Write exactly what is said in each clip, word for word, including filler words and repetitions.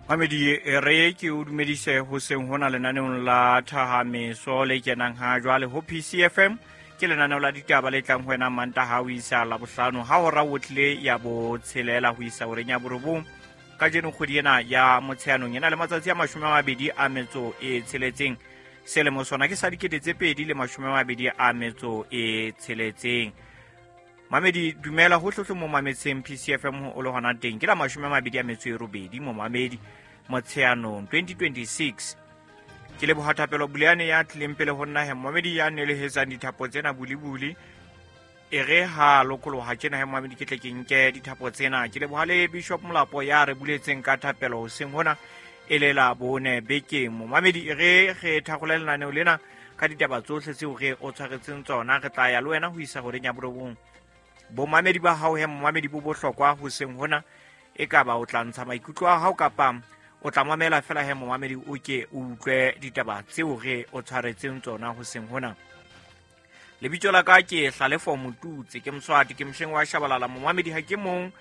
Mamedi re ke o dumedise hoseng hona lenaneong la Thahameso le kenang ha jwale ho P C F M. Ke lenaneo la ditaba le tlang ho wena Mantaha ho isa Labohlano ha hora o tlile ya botshelela ho isa horeng ya borobong. Kajeno kgwedi ena ya Motsheanong ena le matsatsi a mashome a mabedi a metso e tsheletseng. Selemo sona ke sa dikete tse pedi le mashome a mabedi a metso e tsheletseng. Mamedi dumela ho hlohle mo mametseng P C F M o le hona teng. Ke la mashome a mabedi a metso e robedi mo mamedi Motsheanong twenty twenty-six. Ke leboha Thapelo Buleane ya tlileng pele ho nna he momedi ya nelehetsang dithapo tsena bulibuli. E re ha lokoloha tjena he momedi ke tle ke nke dithapo tsena. Ke leboha le Bishop Molapo ya re buletseng ka thapelo hoseng hona e le la bone bekeng. Momamedi e re re thakgole lenaneo lena ka ditaba tsohle tseo re o tshwaretseng tsona. Re tla ya le wena ho isa horeng ya borobong. Bomamedi ba hao he momamedi bo bohlokwa hoseng hona, e ka ba o tla ntsha maikutlo a hao kapa o tla mamela fela he momamedi o ke o utlwe ditaba tseo re o tshwaretseng tsona hoseng hona. Lebitso la ka ke Hlalefo Motutse, ke Moswati, ke mosheng wa Shabalala. Momamedi ha ke mong,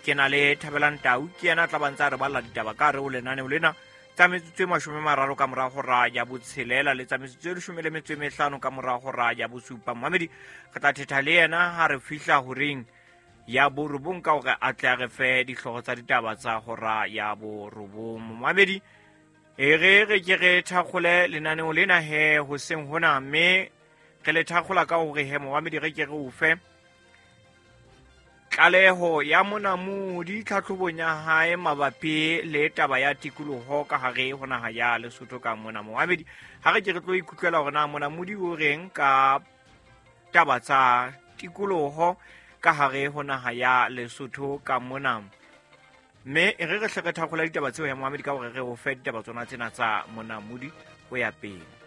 ke na le Thabelang Tau, ke yena a tla ba ntse a re balla ditaba ka hare ho lenaneo lena tsa metsotso e mashome a mararo ka mora hora ya botshelela le tsa metsotso e leshome le metso e mehlano ka mora hora ya bosupa. Momamedi re tla thetha le yena ha re fihla horeng ya borobong ka hore a tle a re fe dihlooho tsa ditaba tsa hora ya borobong. Momamedi e re re ke re thakgole lenaneo lena he hoseng hona, mme re le thakgola ka hore he momamedi re ke re o fe tlaleho ya monamodi tlhatlhobong ya hae mabapi le taba ya tikoloho ka hare ho naha ya Lesotho ka mona. Momamedi ha re ke re tlo ikutlwela hore na monamodi o reng ka taba tsa tikoloho ka hare ho naha ya Lesotho ka mona. Mme e re re hle re thakgola ditaba tseo ya momamedi ka hore re o fe ditaba tsona tsena tsa monamodi ho ya pele.